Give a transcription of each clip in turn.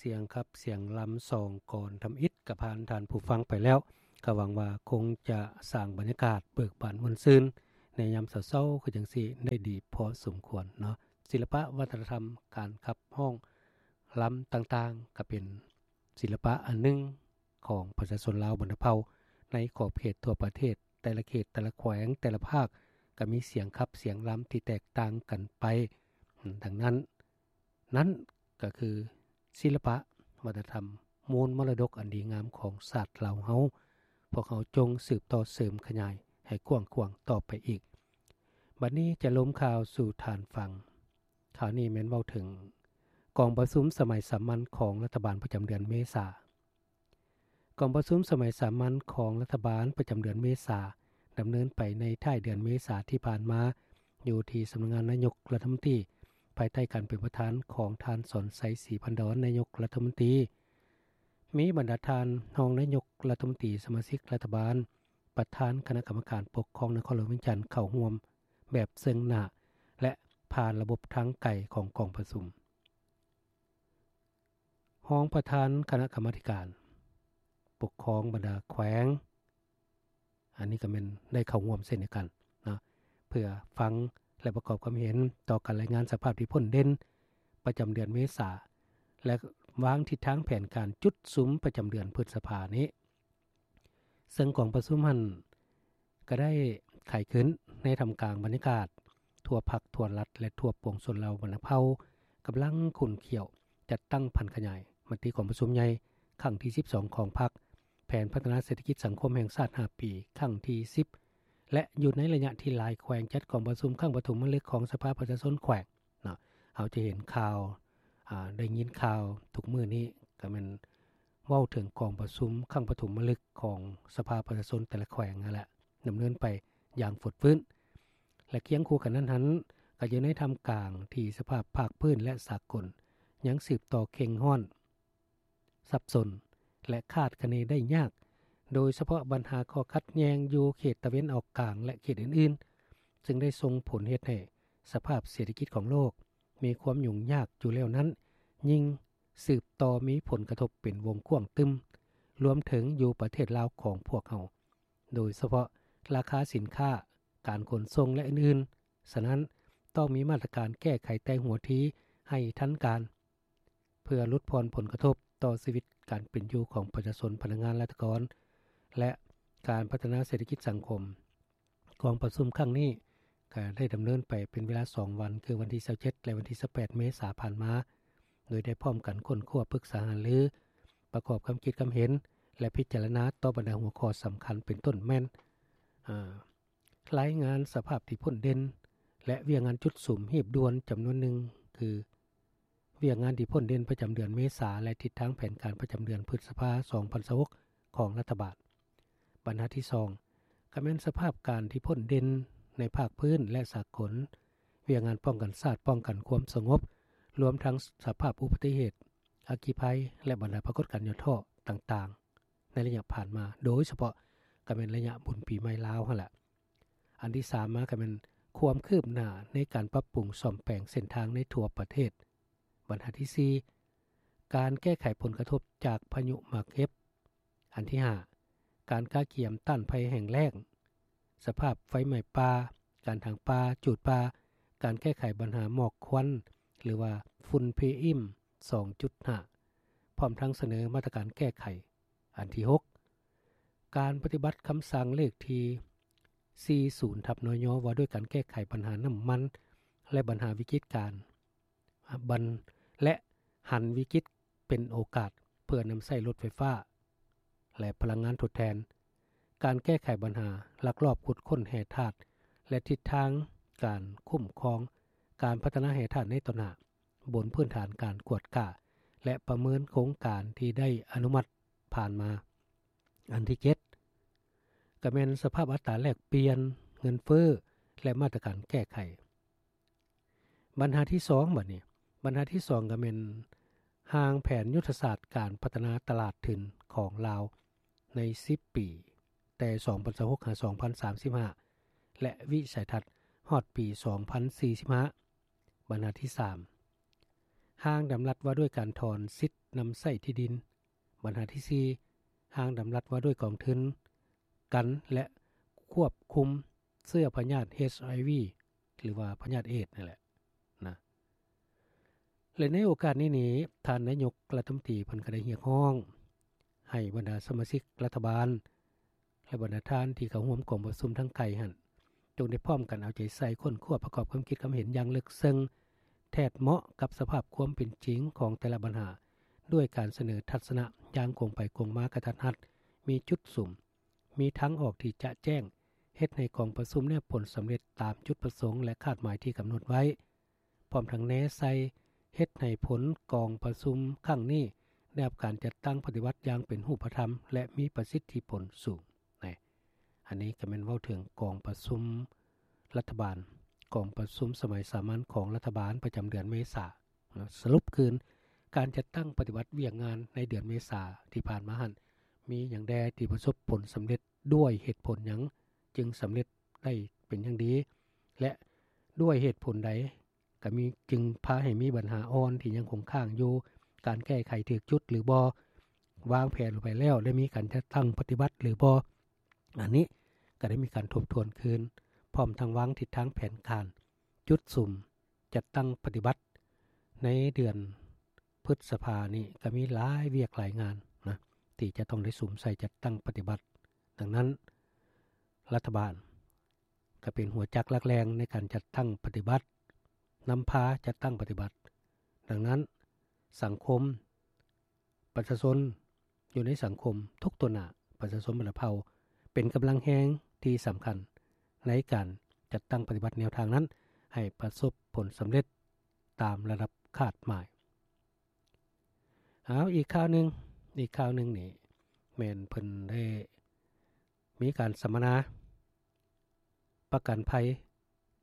ສຽງຂັບສຽງລຳສອງກອນທຳອິດ ກໍຜ່ານທ່ານຜູ້ຟັງໄປແລ້ວ ກໍຫວັງວ່າຄົງຈະສ້າງບັນຍາກາດເບີກບານມ່ວນຊື່ນ ໃນຍາມເຊົ້າໆຄືຈັ່ງຊີ້ໄດ້ດີພໍສົມຄວນເນາະ. ສິລະປະວັດທະນະທຳ ການຂັບຮ້ອງລຳຕ່າງໆ ກໍເປັນສິລະປະອັນໜຶ່ງຂອງປະຊາຊົນລາວບັນດາເຜົ່າ ໃນຂອບເຂດທົ່ວປະເທດ ແຕ່ລະເຂດ ແຕ່ລະແຂວງ ແຕ່ລະພາກ ກໍມີສຽງຂັບສຽງລຳທີ່ແຕກຕ່າງກັນໄປ. ດັ່ງນັ້ນ ນັ້ນກໍຄືສິລະປະວັດທະນະທຳ ມູນມໍລະດົກອັນດີງາມຂອງຊາດລາວເຮົາ. ພວກເຮົາຈົ່ງສືບຕໍ່ເສີມຂະຫຍາຍໃຫ້ກວ້າງຂວາງຕໍ່ໄປອີກ. ບັດນີ້ຈະລົມຂ່າວສູ່ທ່ານຟັງ. ຂ່າວນີ້ແມ່ນເວົ້າເຖິງກອງປະຊຸມສະໄໝສາມັນຂອງລັດຖະບານປະຈຳເດືອນເມສາ. ກອງປະຊຸມສະໄໝສາມັນຂອງລັດຖະບານປະຈຳເດືອນເມສາ ດຳເນີນໄປໃນທ້າຍເດືອນເມສາທີ່ຜ່ານມາ ຢູ່ທີ່ສຳນັກງານນາຍົກລັດຖະມົນຕີ ພາຍໃຕ້ການເປັນປະທານຂອງທ່ານ ສອນໄຊ ສີພັນດອນ ນາຍົກລັດຖະມົນຕີ. ມີບັນດາທ່ານຮອງນາຍົກລັດຖະມົນຕີ, ສະມາຊິກລັດຖະບານ, ປະທານຄະນະກຳມະການປົກຄອງນະຄອນຫຼວງວຽງຈັນ ເຂົ້າຮ່ວມແບບເຊິ່ງໜ້າ ແລະ ຜ່ານລະບົບທາງໄກຂອງກອງປະຊຸມ. ຮອງປະທານຄະນະກຳມາທິການປົກຄອງບັນດາແຂວງ ອັນນີ້ກໍແມ່ນໄດ້ເຂົ້າຮ່ວມເຊັ່ນດຽວກັນເນາະ ເພື່ອຟັງ ແລະ ປະກອບຄວາມເຫັນຕໍ່ການລາຍງານສະພາບທີ່ພົ້ນເດັ່ນປະຈຳເດືອນເມສາ ແລະ ວາງທິດທາງແຜນການຈຸດສຸມປະຈຳເດືອນພຶດສະພານີ້. ເຊິ່ງກອງປະຊຸມຫັ້ນກໍໄດ້ໄຂຂຶ້ນໃນທ່າມກາງບັນຍາກາດທົ່ວພັກ, ທົ່ວລັດ ແລະ ທົ່ວປວງຊົນລາວບັນດາເຜົ່າ ກຳລັງຂຸ້ນຂ້ຽວຈັດຕັ້ງຜັນຂະຫຍາຍມະຕິກອງປະຊຸມໃຫຍ່ຄັ້ງທີສິບສອງຂອງພັກ, ແຜນພັດທະນາເສດຖະກິດສັງຄົມແຫ່ງຊາດຫ້າປີຄັ້ງທີສິບ ແລະ ຢູ່ໃນໄລຍະທີ່ຫຼາຍແຂວງຈັດກອງປະຊຸມຄັ້ງປະຖົມມະລຶກຂອງສະພາປະຊາຊົນແຂວງເນາະ. ເຮົາຈະເຫັນຂ່າວ ອາ ໄດ້ຍິນຂ່າວທຸກມື້ນີ້ ກໍແມ່ນເວົ້າເຖິງກອງປະຊຸມຄັ້ງປະຖົມມະລຶກຂອງສະພາປະຊາຊົນແຕ່ລະແຂວງຫັ້ນແຫຼະ ດຳເນີນໄປຢ່າງຟົດຟື້ນ ແລະ ຄຽງຄູ່ກັນນັ້ນຫັ້ນ ກໍຢູ່ໃນທ່າມກາງທີ່ສະພາບພາກພື້ນ ແລະ ສາກົນ ຍັງສືບຕໍ່ເຄັ່ງຮ້ອນ ສັບສົນ ແລະ ຄາດຄະເນໄດ້ຍາກ, ໂດຍສະເພາະບັນຫາຂໍ້ຂັດແຍ່ງຢູ່ເຂດຕາເວັນອອກກາງ ແລະ ເຂດອື່ນໆ ຊຶ່ງໄດ້ສົ່ງຜົນເຮັດໃຫ້ສະພາບເສດຖະກິດຂອງໂລກມີຄວາມຫຍຸ້ງຍາກຢູ່ແລ້ວນັ້ນ ຍິ່ງສືບຕໍ່ມີຜົນກະທົບເປັນວົງກວ້າງຕຶມ, ລວມເຖິງຢູ່ປະເທດລາວຂອງພວກເຮົາ, ໂດຍສະເພາະລາຄາສິນຄ້າ, ການຂົນສົ່ງ ແລະ ອື່ນໆ. ສະນັ້ນ, ຕ້ອງມີມາດຕະການແກ້ໄຂແຕ່ຫົວທີໃຫ້ທັນການ. ເພື່ອຫຼຸດຜ່ອນຜົນກະທົບຕໍ່ຊີວິດການເປັນຢູ່ຂອງປະຊາຊົນ, ພະນັກງານ, ລັດຖະກອນ ແລະ ການພັດທະນາເສດຖະກິດສັງຄົມ. ກອງປະຊຸມຄັ້ງນີ້ກໍໄດ້ດຳເນີນໄປເປັນເວລາສອງວັນ, ຄືວັນທີຊາວເຈັດ ແລະ ວັນທີຊາວແປດ ເມສາຜ່ານມາ, ໂດຍໄດ້ພ້ອມກັນຄົ້ນຄວ້າ, ປຶກສາຫາລື, ປະກອບຄຳຄິດຄຳເຫັນ ແລະ ພິຈາລະນາຕໍ່ບັນດາຫົວຂໍ້ສຳຄັນ ເປັນຕົ້ນແມ່ນ ອາ ລາຍງານສະພາບທີ່ພົ້ນເດັ່ນ ແລະ ວຽກງານຈຸດສຸມຮີບດ່ວນຈຳນວນໜຶ່ງ ຄື ວຽກງານທີ່ພົ້ນເດັ່ນປະຈຳເດືອນເມສາ ແລະ ທິດທາງແຜນການປະຈຳເດືອນພຶດສະພາ ສອງພັນຊາວຫົກ ຂອງລັດຖະບານ. ບັນຫາທີສອງ ກໍແມ່ນສະພາບການທີ່ພົ້ນເດັ່ນໃນພາກພື້ນ ແລະ ສາກົນ, ວຽກງານປ້ອງກັນຊາດ, ປ້ອງກັນຄວາມສະຫງົບ, ລວມທັງສະພາບອຸບັດຕິເຫດ, ອັກຄີໄພ ແລະ ບັນດາປາກົດການຫຍໍ້ທໍ້ຕ່າງໆ ໃນໄລຍະຜ່ານມາ, ໂດຍສະເພາະກໍແມ່ນໄລຍະບຸນປີໃໝ່ລາວຫັ້ນແຫຼະ. ອັນທີສາມມາກໍແມ່ນຄວາມຄືບໜ້າໃນການປັບປຸງສ້ອມແປງເສັ້ນທາງໃນທົ່ວປະເທດ. ບັນຫາທີສີ່ ການແກ້ໄຂຜົນກະທົບຈາກພາຍຸໝາກເຫັບ. ອັນທີຫ້າ ການກະກຽມຕ້ານໄພແຫ້ງແລ້ງ, ສະພາບໄຟໄໝ້ປ່າ, ການຖາງປ່າ, ຈູດປ່າ, ການແກ້ໄຂບັນຫາໝອກຄວັນ ຫຼືວ່າຝຸ່ນ ພີເອັມ ສອງຈຸດຫ້າ ພ້ອມທັງສະເໜີມາດຕະການແກ້ໄຂ. ອັນທີຫົກ ການປະຕິບັດຄຳສັ່ງເລກທີສີ່ສິບ ທັບ ນຍ ວ່າດ້ວຍການແກ້ໄຂບັນຫານ້ຳມັນ ແລະ ບັນຫາວິກິດການ ບັນ ແລະ ຫັນວິກິດເປັນໂອກາດ ເພື່ອນຳໃຊ້ລົດໄຟຟ້າ ແລະ ພະລັງງານທົດແທນ, ການແກ້ໄຂບັນຫາລັກລອບຂຸດຄົ້ນແຮ່ທາດ ແລະ ທິດທາງການຄຸ້ມຄອງການພັດທະນາແຮ່ທາດໃນຕໍ່ໜ້າ ບົນພື້ນຖານການກວດກາ ແລະ ປະເມີນໂຄງການທີ່ໄດ້ອະນຸມັດຜ່ານມາ. ອັນທີເຈັດ ກໍແມ່ນສະພາບອັດຕາແລກປ່ຽນ, ເງິນເຟີ້ ແລະ ມາດຕະການແກ້ໄຂ. ບັນຫາທີສອງ ບັດນີ້ ບັນຫາທີສອງ ກໍແມ່ນຮ່າງແຜນຍຸດທະສາດການພັດທະນາຕະຫຼາດທຶນຂອງລາວໃນສິບປີ ແຕ່ສອງພັນຊາວຫົກ ຫາ ສອງພັນສາມສິບຫ້າ ແລະ ວິໄສທັດຮອດປີສອງພັນສີ່ສິບຫ້າ. ບັນຫາທີສາມ ຮ່າງດຳລັດວ່າດ້ວຍການຖອນສິດນຳໃຊ້ທີ່ດິນ. ບັນຫາທີສີ່ ຮ່າງດຳລັດວ່າດ້ວຍກອງທຶນກັນ ແລະ ຄວບຄຸມເຊື້ອພະຍາດ ເອດສ໌ ຫຼືວ່າພະຍາດເອດສ໌ນັ້ນແຫຼະນະ. ແລະ ໃນໂອກາດນີ້ນີ້ ທ່ານນາຍົກລັດຖະມົນຕີເພິ່ນກໍໄດ້ຮຽກຮ້ອງໃຫ້ບັນດາສະມາຊິກລັດຖະບານ ແລະ ບັນດາທ່ານທີ່ເຂົ້າຮ່ວມກອງປະຊຸມທາງໄກຫັ້ນ ຈົ່ງໄດ້ພ້ອມກັນເອົາໃຈໃສ່ຄົ້ນຄວ້າປະກອບຄວາມຄິດຄວາມເຫັນຢ່າງເລິກເຊິ່ງ ແທດເໝາະກັບສະພາບຄວາມເປັນຈິງຂອງແຕ່ລະບັນຫາ ດ້ວຍການສະເໜີທັດສະນະຢ່າງກົງໄປກົງມາ ກະທັດຮັດ, ມີຈຸດສຸມ, ມີທາງອອກທີ່ຈະແຈ້ງ, ເຮັດໃຫ້ກອງປະຊຸມແນບຜົນສຳເລັດຕາມຈຸດປະສົງ ແລະ ຄາດໝາຍທີ່ກຳນົດໄວ້. ພ້ອມທັງແນໃສ່ເຮັດໃຫ້ຜົນກອງປະຊຸມຄັ້ງນີ້ໄດ້ຮັບການຈັດຕັ້ງປະຕິບັດຢ່າງເປັນຮູບປະທຳ ແລະ ມີປະສິດທິຜົນສູງ. ນີ້ ອັນນີ້ກໍແມ່ນເວົ້າເຖິງກອງປະຊຸມລັດຖະບານ, ກອງປະຊຸມສະໄໝສາມັນຂອງລັດຖະບານປະຈຳເດືອນເມສາເນາະ. ສະຫຼຸບຄືນ ການຈັດຕັ້ງປະຕິບັດວຽກງານໃນເດືອນເມສາທີ່ຜ່ານມາຫັ້ນ ມີຫຍັງແດ່ທີ່ປະສົບຜົນສຳເລັດ? ດ້ວຍເຫດຜົນຫຍັງຈຶ່ງສຳເລັດໄດ້ເປັນຢ່າງດີ ແລະ ດ້ວຍເຫດຜົນໃດ ກໍມີ ຈຶ່ງພາໃຫ້ມີບັນຫາອ່ອນທີ່ຍັງຄົງຄ້າງຢູ່, ການແກ້ໄຂຖືກຈຸດຫຼືບໍ່, ວາງແຜນໄປແລ້ວ ໄດ້ມີການຈັດຕັ້ງປະຕິບັດຫຼືບໍ່? ອັນນີ້ກໍໄດ້ມີການທົບທວນຄືນ ພ້ອມທັງວາງທິດທາງແຜນການ, ຈຸດສຸມ, ຈັດຕັ້ງປະຕິບັດ. ໃນເດືອນພຶດສະພານີ້ກໍມີຫຼາຍວຽກຫຼາຍງານນະ ທີ່ຈະຕ້ອງໄດ້ສຸມໃສ່ຈັດຕັ້ງປະຕິບັດ. ດັ່ງນັ້ນ ລັດຖະບານ ກໍເປັນຫົວຈັກຫຼັກແຫຼ່ງໃນການຈັດຕັ້ງປະຕິບັດ, ນຳພາຈັດຕັ້ງປະຕິບັດ. ດັ່ງນັ້ນ ສັງຄົມ, ປະຊາຊົນຢູ່ໃນສັງຄົມທຸກຕົວໜ້າ, ປະຊາຊົນບັນດາເຜົ່າ ເປັນກຳລັງແຮງທີ່ສຳຄັນໃນການຈັດຕັ້ງປະຕິບັດແນວທາງນັ້ນ ໃຫ້ປະສົບຜົນສຳເລັດຕາມລະດັບຄາດໝາຍ. ເອົາ ອີກຂ່າວໜຶ່ງ, ອີກຂ່າວໜຶ່ງນີ້ ແມ່ນເພິ່ນໄດ້ມີການສຳມະນາ ປະກັນໄພ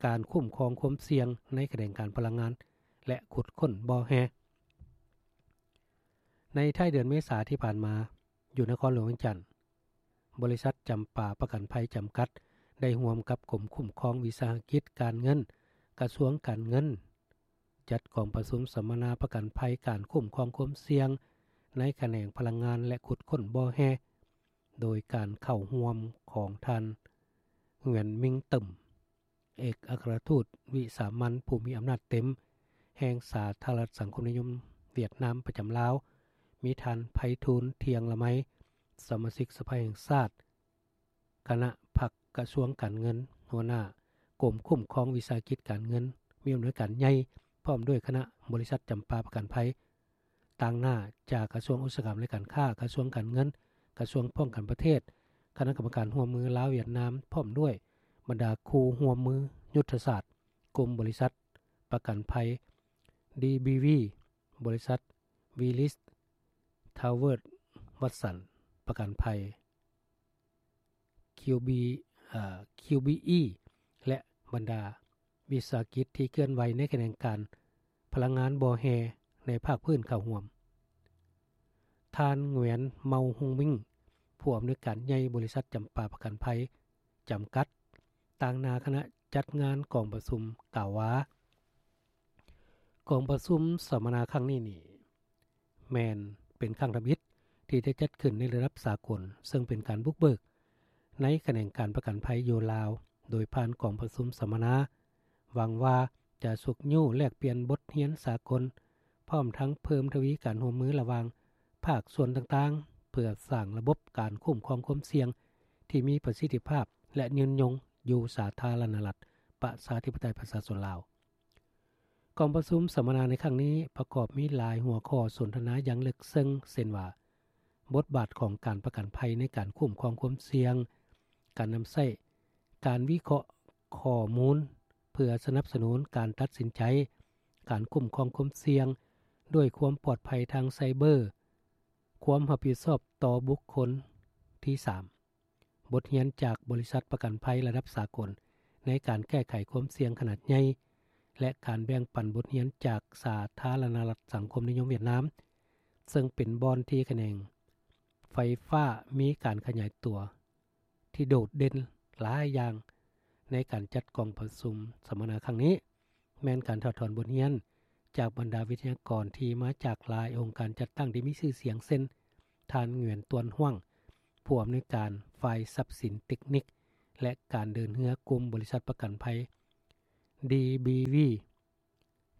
ການຄຸ້ມຄອງຄວາມສ່ຽງໃນຂະແໜງການພະລັງງານ ແລະ ຂຸດຄົ້ນບໍ່ແຮ່. ໃນທ້າຍເດືອນເມສາທີ່ຜ່ານມາ, ຢູ່ນະຄອນຫຼວງວຽງຈັນ, ບໍລິສັດຈຳປາປະກັນໄພຈຳກັດ ໄດ້ຮ່ວມກັບກົມຄຸ້ມຄອງວິສາຫະກິດການເງິນ, ກະຊວງການເງິນ ຈັດກອງປະຊຸມສຳມະນາປະກັນໄພການຄຸ້ມຄອງຄວາມສ່ຽງໃນຂະແໜງພະລັງງານ ແລະ ຂຸດຄົ້ນບໍ່ແຮ່ ໂດຍການເຂົ້າຮ່ວມຂອງທ່ານ ຫງວຽນ ມິງ ເຕີມ ເອກອັກຄະລັດທູດວິສາມັນຜູ້ມີອຳນາດເຕັມແຫ່ງສາທາລະນະລັດສັງຄົມນິຍົມຫວຽດນາມປະຈຳລາວ, ມີທ່ານ ໄພທູນ ທຽງລະໄມ ສະມາຊິກສະພາແຫ່ງຊາດ, ຄະນະພັກກະຊວງການເງິນ, ຫົວໜ້າກົມຄຸ້ມຄອງວິສາຫະກິດການເງິນ, ມີອຳນວຍການໃຫຍ່ ພ້ອມດ້ວຍຄະນະບໍລິສັດຈຳປາປະກັນໄພ, ຕາງໜ້າຈາກກະຊວງອຸດສາຫະກຳ ແລະ ການຄ້າ, ກະຊວງການເງິນ, ກະຊວງປ້ອງກັນປະເທດ, ຄະນະກຳມະການຮ່ວມມືລາວ-ຫວຽດນາມ, ພ້ອມດ້ວຍບັນດາຄູ່ຮ່ວມມືຍຸດທະສາດ, ກຸ່ມບໍລິສັດປະກັນໄພ ດີບີວີ, ບໍລິສັດ ວີລິສ ທາວເວີດ ວັດສັນ ປະກັນໄພ ຄິວບີ ເອີ ຄິວບີອີ ແລະ ບັນດາວິສາຫະກິດທີ່ເຄື່ອນໄຫວໃນຂະແໜງການພະລັງງານບໍ່ແຮ່ໃນພາກພື້ນເຂົ້າຮ່ວມ. ທ່ານ ຫງວຽນ ເມົາ ຮຸງມິງ ຜູ້ອຳນວຍການໃຫຍ່ບໍລິສັດຈຳປາປະກັນໄພຈຳກັດ ຕາງໜ້າຄະນະຈັດງານກອງປະຊຸມ ກ່າວວ່າ ກອງປະຊຸມສຳມະນາຄັ້ງນີ້ນີ້ ແມ່ນເປັນຄັ້ງທຳອິດທີ່ໄດ້ຈັດຂຶ້ນໃນລະດັບສາກົນ, ເຊິ່ງເປັນການບຸກເບີກໃນຂະແໜງການປະກັນໄພຢູ່ລາວ ໂດຍຜ່ານກອງປະຊຸມສຳມະນາ, ຫວັງວ່າຈະຊຸກຍູ້ແລກປ່ຽນບົດຮຽນສາກົນ, ພ້ອມທັງເພີ່ມທະວີການຮ່ວມມືລະຫວ່າງພາກສ່ວນຕ່າງໆ ເພື່ອສ້າງລະບົບການຄຸ້ມຄອງຄວາມສ່ຽງທີ່ມີປະສິດທິພາບ ແລະ ຍືນຍົງຢູ່ສາທາລະນະລັດ ປະຊາທິປະໄຕ ປະຊາຊົນລາວ. ກອງປະຊຸມສຳມະນາໃນຄັ້ງນີ້ປະກອບມີຫຼາຍຫົວຂໍ້ສົນທະນາຢ່າງເລິກເຊິ່ງ ເຊັ່ນວ່າ ບົດບາດຂອງການປະກັນໄພໃນການຄຸ້ມຄອງຄວາມສ່ຽງ, ການນຳໃຊ້ການວິເຄາະຂໍ້ມູນເພື່ອສະໜັບສະໜູນການຕັດສິນໃຈ, ການຄຸ້ມຄອງຄວາມສ່ຽງດ້ວຍຄວາມປອດໄພທາງໄຊເບີ, ຄວາມຮັບຜິດຊອບຕໍ່ບຸກຄົນທີສາມ. ບົດຮຽນຈາກບໍລິສັດປະກັນໄພລະດັບສາກົນໃນການແກ້ໄຂຄວາມສ່ຽງຂະໜາດໃຫຍ່ ແລະ ການແບ່ງປັນບົດຮຽນຈາກສາທາລະນະລັດສັງຄົມນິຍົມຫວຽດນາມ, ເຊິ່ງເປັນບ່ອນທີ່ຂະແໜງໄຟຟ້າມີການຂະຫຍາຍຕົວທີ່ໂດດເດັ່ນຫຼາຍຢ່າງໃນການຈັດກອງປະຊຸມສຳມະນາຄັ້ງນີ້ ແມ່ນການຖອດຖອນບົດຮຽນ ຈາກບັນດາວິທະຍາກອນທີ່ມາຈາກຫຼາຍອົງການຈັດຕັ້ງທີ່ມີຊື່ສຽງ ເຊັ່ນ ທ່ານ ຫງວຽນ ຕວນ ຫວ່າງ ຜູ້ອຳນວຍການຝ່າຍຊັບສິນເຕັກນິກ ແລະ ການເດີນເຮືອ ກຸ່ມບໍລິສັດປະກັນໄພ ດີ ບີ ວີ,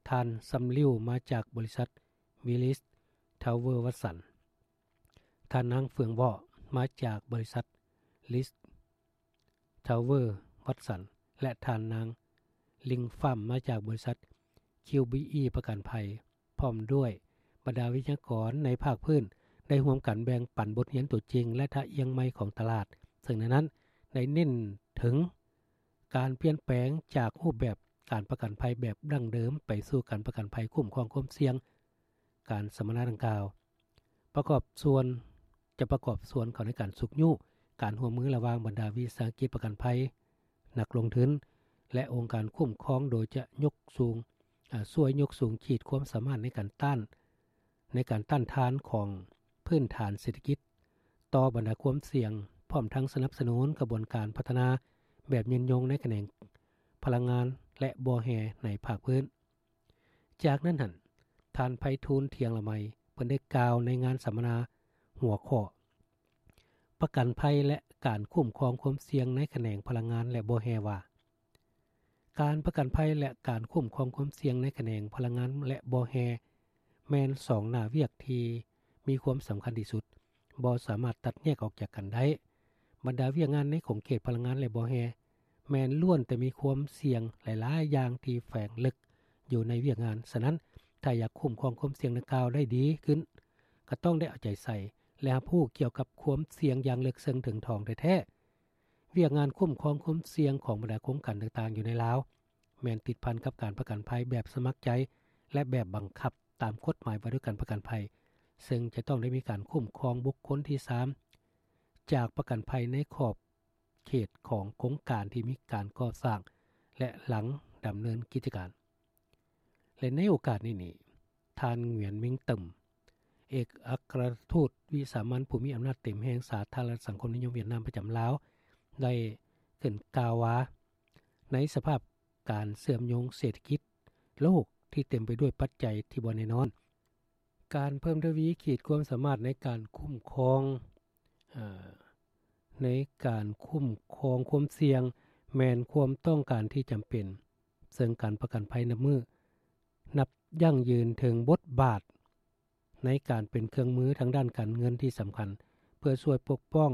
ທ່ານ ຊຳ ລິວ ມາຈາກບໍລິສັດ ວິລິສ ທາວເວີ ວັດສັນ, ທ່ານ ນາງ ເຟືອງ ວໍ້ ມາຈາກບໍລິສັດ ລິສ ທາວເວີ ວັດສັນ ແລະ ທ່ານນາງ ລິງ ຟາມ ມາຈາກບໍລິສັດ ຄິວ ບີ ອີ ປະກັນໄພ ພ້ອມດ້ວຍບັນດາວິທະຍາກອນໃນພາກພື້ນ ໄດ້ຮ່ວມກັນແບ່ງປັນບົດຮຽນຕົວຈິງ ແລະ ທ່າອ່ຽງໃໝ່ຂອງຕະຫຼາດ, ເຊິ່ງໃນນັ້ນໄດ້ເນັ້ນເຖິງການປ່ຽນແປງຈາກຮູບແບບການປະກັນໄພແບບດັ້ງເດີມ ໄປສູ່ການປະກັນໄພຄຸ້ມຄອງຄວາມສ່ຽງ. ການສຳມະນາດັ່ງກ່າວ ປະກອບສ່ວນ ຈະປະກອບສ່ວນເຂົ້າໃນການຊຸກຍູ້ການຮ່ວມມືລະຫວ່າງບັນດາວິສາຫະກິດປະກັນໄພ, ນັກລົງທຶນ ແລະ ອົງການຄຸ້ມຄອງ ໂດຍຈະຍົກສູງ, ອາ, ຊ່ວຍຍົກສູງຂີດຄວາມສາມາດໃນການຕ້ານ, ໃນການຕ້ານທານຂອງພື້ນຖານເສດຖະກິດຕໍ່ບັນດາຄວາມສ່ຽງ, ພ້ອມທັງສະໜັບສະໜູນຂະບວນການພັດທະນາແບບຍືນຍົງໃນຂະແໜງພະລັງງານ ແລະ ບໍ່ແຮ່ໃນພາກພື້ນ. ຈາກນັ້ນຫັ້ນ ທ່ານ ໄພທູນ ທ່ຽງລະໄມ ເພິ່ນໄດ້ກ່າວໃນງານສຳມະນາຫົວຂໍ້ ປະກັນໄພ ແລະ ການຄຸ້ມຄອງຄວາມສ່ຽງໃນຂະແໜງພະລັງງານ ແລະ ບໍ່ແຮ່ ວ່າ ການປະກັນໄພ ແລະ ການຄຸ້ມຄອງຄວາມສ່ຽງໃນຂະແໜງພະລັງງານ ແລະ ບໍ່ແຮ່ ແມ່ນສອງໜ້າວຽກທີ່ມີຄວາມສຳຄັນທີ່ສຸດ, ບໍ່ສາມາດຕັດແຍກອອກຈາກກັນໄດ້. ບັນດາວຽກງານໃນຂົງເຂດພະລັງງານ ແລະ ບໍ່ແຮ່ ແມ່ນລ້ວນແຕ່ມີຄວາມສ່ຽງຫຼາຍໆຢ່າງທີ່ແຝງເລິກຢູ່ໃນວຽກງານ. ສະນັ້ນ, ຖ້າຢາກຄຸ້ມຄອງຄວາມສ່ຽງດັ່ງກ່າວໄດ້ດີຂຶ້ນ, ກໍຕ້ອງໄດ້ເອົາໃຈໃສ່ ແລະ ຮັບຮູ້ກ່ຽວກັບຄວາມສ່ຽງຢ່າງເລິກເຊິ່ງເຖິງຖອງແທ້ໆ. ວຽກງານຄຸ້ມຄອງຄວາມສ່ຽງຂອງບັນດາໂຄງການຕ່າງໆຢູ່ໃນລາວ ແມ່ນຕິດພັນກັບການປະກັນໄພແບບສະໝັກໃຈ ແລະ ແບບບັງຄັບຕາມກົດໝາຍວ່າດ້ວຍການປະກັນໄພ, ເຊິ່ງຈະຕ້ອງໄດ້ມີການຄຸ້ມຄອງບຸກຄົນທີສາມ ຈາກປະກັນໄພໃນຂອບເຂດຂອງໂຄງການທີ່ມີການກໍ່ສ້າງ ແລະ ຫຼັງດຳເນີນກິດຈະການ. ແລະ ໃນໂອກາດນີ້ນີ້, ທ່ານ ຫງວຽນ ມິງເຕີມ ເອກອັກຄະລັດທູດວິສາມັນຜູ້ມີອຳນາດເຕັມແຫ່ງສາທາລະນະລັດສັງຄົມນິຍົມຫວຽດນາມປະຈຳລາວ ໄດ້ຂຶ້ນກ່າວວ່າ ໃນສະພາບການເຊື່ອມໂຍງເສດຖະກິດໂລກທີ່ເຕັມໄປດ້ວຍປັດໄຈທີ່ບໍ່ແນ່ນອນ, ການເພີ່ມທະວີຂີດຄວາມສາມາດໃນການຄຸ້ມຄອງ, ເອີ, ໃນການຄຸ້ມຄອງຄວາມສ່ຽງ ແມ່ນຄວາມຕ້ອງການທີ່ຈຳເປັນ, ເຊິ່ງການປະກັນໄພນັບມື້ ນັບຢັ້ງຢືນເຖິງບົດບາດໃນການເປັນເຄື່ອງມືທາງດ້ານການເງິນທີ່ສຳຄັນ ເພື່ອຊ່ວຍປົກປ້ອງ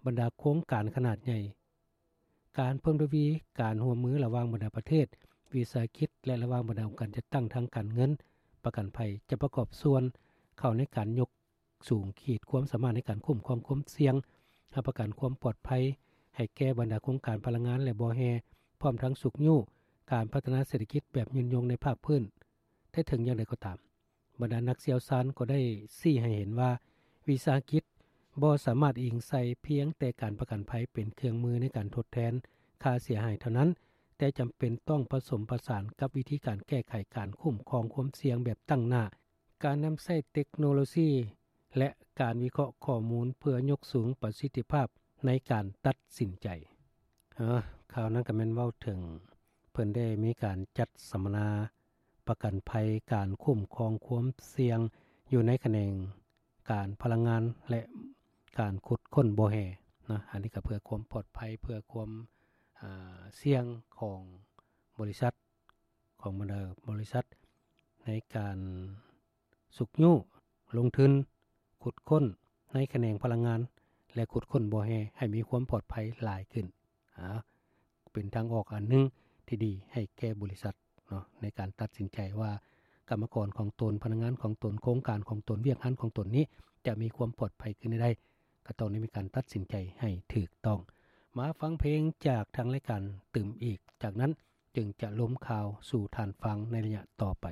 ບັນດາໂຄງການຂະໜາດໃຫຍ່. ການເພີ່ມທະວີການຮ່ວມມືລະຫວ່າງບັນດາປະເທດ, ວິສາຫະກິດ ແລະ ລະຫວ່າງບັນດາອົງການຈັດຕັ້ງທາງການເງິນ, ປະກັນໄພ ຈະປະກອບສ່ວນເຂົ້າໃນການຍົກສູງຂີດຄວາມສາມາດໃນການຄຸ້ມຄອງຄວາມສ່ຽງ, ຮັບປະກັນຄວາມປອດໄພໃຫ້ແກ່ບັນດາໂຄງການພະລັງງານ ແລະ ບໍ່ແຮ່, ພ້ອມທັງຊຸກຍູ້ການພັດທະນາເສດຖະກິດແບບຍືນຍົງໃນພາກພື້ນ. ແຕ່ເຖິງຢ່າງໃດກໍຕາມ, ບັນດານັກຊ່ຽວຊານກໍໄດ້ຊີ້ໃຫ້ເຫັນວ່າ ວິສາຫະກິດບໍ່ສາມາດອີງໃສ່ພຽງແຕ່ການປະກັນໄພເປັນເຄື່ອງມືໃນການທົດແທນຄ່າເສຍຫາຍເທົ່ານັ້ນ, ແຕ່ຈຳເປັນຕ້ອງປະສົມປະສານກັບວິທີການແກ້ໄຂການຄຸ້ມຄອງຄວາມສ່ຽງແບບຕັ້ງໜ້າ, ການນຳໃຊ້ເຕັກໂນໂລຊີ ແລະ ການວິເຄາະຂໍ້ມູນເພື່ອຍົກສູງປະສິດທິພາບໃນການຕັດສິນໃຈ. ເອີ, ຂ່າວນັ້ນກໍແມ່ນເວົ້າເຖິງ ເພິ່ນໄດ້ມີການຈັດສຳມະນາປະກັນໄພການຄຸ້ມຄອງຄວາມສ່ຽງຢູ່ໃນຂະແໜງການພະລັງງານ ແລະ ການຂຸດຄົ້ນບໍ່ແຮ່ນະ. ອັນນີ້ກໍເພື່ອຄວາມປອດໄພ, ເພື່ອຄວາມ, ອາ, ສ່ຽງຂອງບໍລິສັດ, ຂອງບັນດາບໍລິສັດ ໃນການຊຸກຍູ້ລົງທຶນຂຸດຄົ້ນໃນຂະແໜງພະລັງງານ ແລະ ຂຸດຄົ້ນບໍ່ແຮ່ໃຫ້ມີຄວາມປອດໄພຫຼາຍຂຶ້ນ. ອາ, ເປັນທາງອອກອັນໜຶ່ງທີ່ດີໃຫ້ແກ່ບໍລິສັດເນາະ ໃນການຕັດສິນໃຈວ່າກຳມະກອນຂອງຕົນ, ພະນັກງານຂອງຕົນ, ໂຄງການຂອງຕົນ, ວຽກງານຂອງຕົນນີ້ຈະມີຄວາມປອດໄພຄືແນວໃດ, ກໍຕ້ອງໄດ້ມີການຕັດສິນໃຈໃຫ້ຖືກຕ້ອງ. ມາຟັງເພງຈາກທາງລາຍການຕື່ມອີກ, ຈາກນັ້ນຈຶ່ງຈະລົມຂ່າວສູ່ທ່ານຟັງໃນໄລຍະຕໍ່ໄປ.